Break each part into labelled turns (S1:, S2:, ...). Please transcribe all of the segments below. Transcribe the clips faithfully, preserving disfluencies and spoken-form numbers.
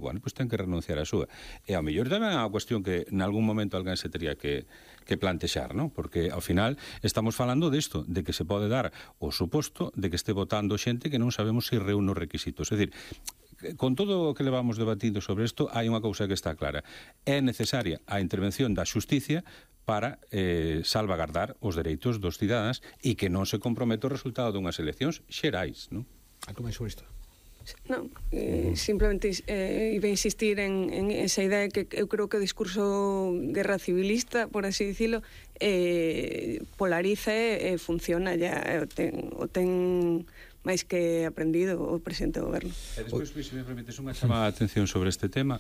S1: bueno, pois ten que renunciar a súa. E ao mellor tamén é unha cuestión que en algún momento alguén se teria que, que plantexar, non? Porque ao final estamos falando disto, de que se pode dar o suposto de que este votando xente que non sabemos se reúne os requisitos. É dicir, con todo o que levamos debatindo sobre isto, hai unha cousa que está clara. É necesaria a intervención da xusticia para eh, salvagardar os dereitos dos cidadáns e que non se comprometa o resultado dunhas eleccións xerais, non?
S2: Algo máis sobre isto?
S3: Non, eh, simplemente eh, iba a insistir en, en esa idea que eu creo que o discurso guerra civilista, por así dicilo, eh, polariza e eh, funciona ya, o ten, o ten máis que aprendido o presidente do goberno.
S1: E despois, se me permites, unha chamada de atención sobre este tema.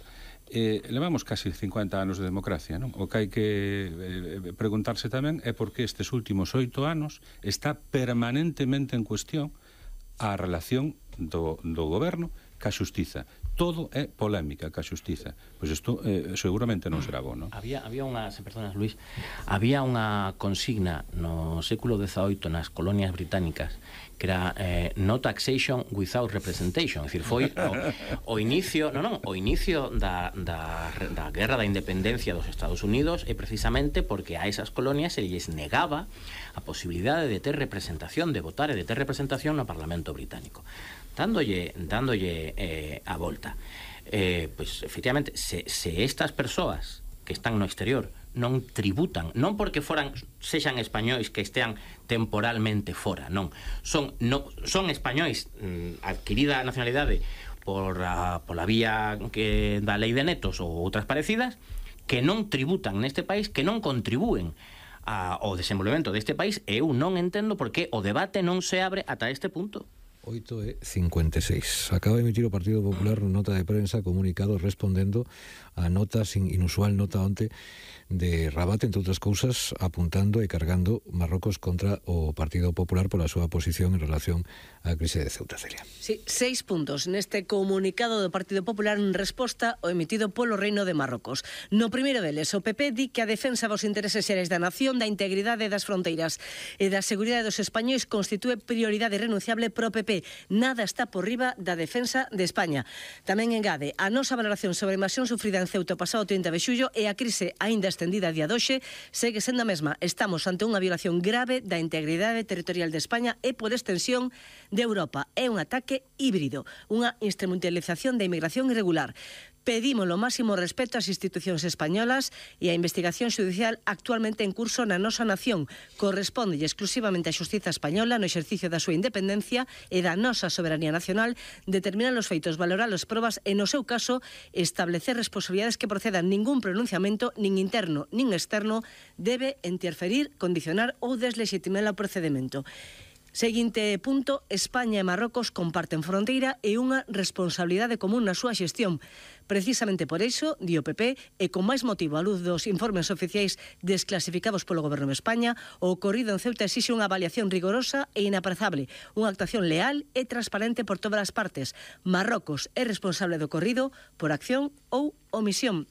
S1: Eh, levamos casi cincuenta anos de democracia, non? O que hai que eh, preguntarse tamén é por que estes últimos oito anos está permanentemente en cuestión a relación do, do goberno ca xustiza. Todo é polémica ca xustiza. Pois isto eh, seguramente non será bo, non?
S4: Había, había unha, se perdonas, Luis, había unha consigna no século dezaoito nas colonias británicas que era eh, no taxation without representation. É dicir, foi o, o inicio, non, non, o inicio da, da, da guerra da independencia dos Estados Unidos é precisamente porque a esas colonias se lles negaba a posibilidade de ter representación, de votar e de ter representación no Parlamento británico. Dándolle, dándolle eh, a volta. Eh, pois, efectivamente, se, se estas persoas que están no exterior non tributan, non porque foran sexan españois que estean temporalmente fora, non. Son, no, son españois mm, adquirida a nacionalidade por a, pola vía que da lei de netos ou outras parecidas, que non tributan neste país, que non contribúen a, ao desenvolvemento deste país, e eu non entendo por que o debate non se abre ata este punto.
S2: oito e cincuenta e seis. Acaba de emitir o Partido Popular nota de prensa, comunicado respondendo a nota sin inusual nota onte de Rabat, entre outras cousas, apuntando e cargando Marrocos contra o Partido Popular pola súa posición en relación á crise de Ceuta. Celia.
S5: Sí, seis puntos neste comunicado do Partido Popular en resposta ao emitido polo Reino de Marrocos. No primeiro deles, o P P di que a defensa dos intereses xerais da nación, da integridade das fronteiras e da seguridade dos españois constitúe prioridade irrenunciable pro P P. Nada está por riba da defensa de España. Tamén engade, a nosa valoración sobre a invasión sufrida en Ceuta o pasado trinta de xullo e a crise aínda estendida a día doxe segue sendo a mesma. Estamos ante unha violación grave da integridade territorial de España e, por extensión, de Europa. É un ataque híbrido, unha instrumentalización da inmigración irregular. Pedimos o máximo respeto ás institucións españolas e a investigación judicial actualmente en curso na nosa nación. Corresponde exclusivamente á xustiza española no exercicio da súa independencia e da nosa soberanía nacional determinar os feitos, valorar as probas e, no seu caso, establecer responsabilidades que procedan. Ningún pronunciamento, nin interno nin externo, debe interferir, condicionar ou deslegitimar o procedimento. Seguinte punto, España e Marrocos comparten fronteira e unha responsabilidade común na súa xestión. Precisamente por iso, di o P P, e con máis motivo a luz dos informes oficiais desclasificados polo Goberno de España, o ocorrido en Ceuta exixe unha avaliación rigorosa e inaprazable, unha actuación leal e transparente por todas as partes. Marrocos é responsable do ocorrido por acción ou omisión.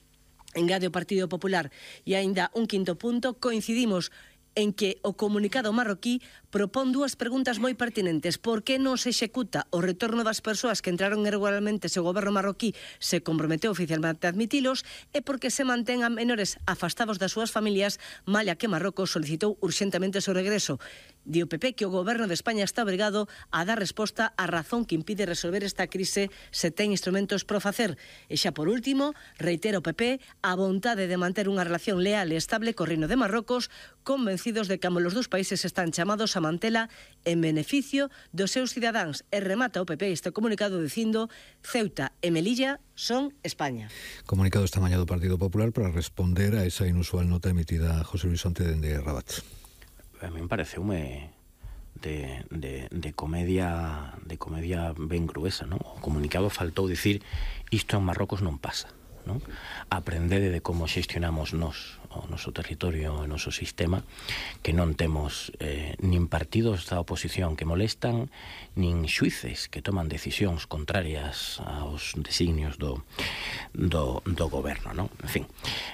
S5: Engade o Partido Popular. E aínda un quinto punto, coincidimos en que o comunicado marroquí propón dúas preguntas moi pertinentes. Por que non se executa o retorno das persoas que entraron irregularmente se o goberno marroquí se comprometeu oficialmente a admitilos, e por que se mantén a menores afastados das súas familias, malla que Marrocos solicitou urxentemente o seu regreso. Di o P P que o goberno de España está obrigado a dar resposta á razón que impide resolver esta crise se ten instrumentos para facer. E xa por último, reitera o P P a vontade de manter unha relación leal e estable co Reino de Marrocos, convencidos de que ambos os dous países están chamados a mantela en beneficio dos seus cidadáns. E remata o P P este comunicado dicindo: Ceuta e Melilla son España.
S2: Comunicado esta mañá do Partido Popular para responder a esa inusual nota emitida a José Luis Onte dende Rabat.
S4: A mí me pareceume de, de, de comedia de comedia ben gruesa, non? O comunicado faltou dicir isto en Marrocos non pasa, non? Aprendede de como xestionamos nós o noso territorio, o noso sistema, que non temos eh, nin partidos da oposición que molestan, nin xuíces que toman decisións contrarias aos designios do, do, do goberno, non? En fin,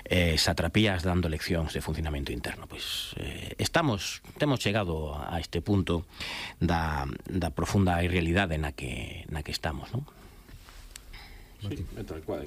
S4: eh, satrapías dando leccións de funcionamento interno. Pois eh, estamos, temos chegado a este punto da, da profunda irrealidade na que, na que estamos, non?
S1: Sí, tal cual.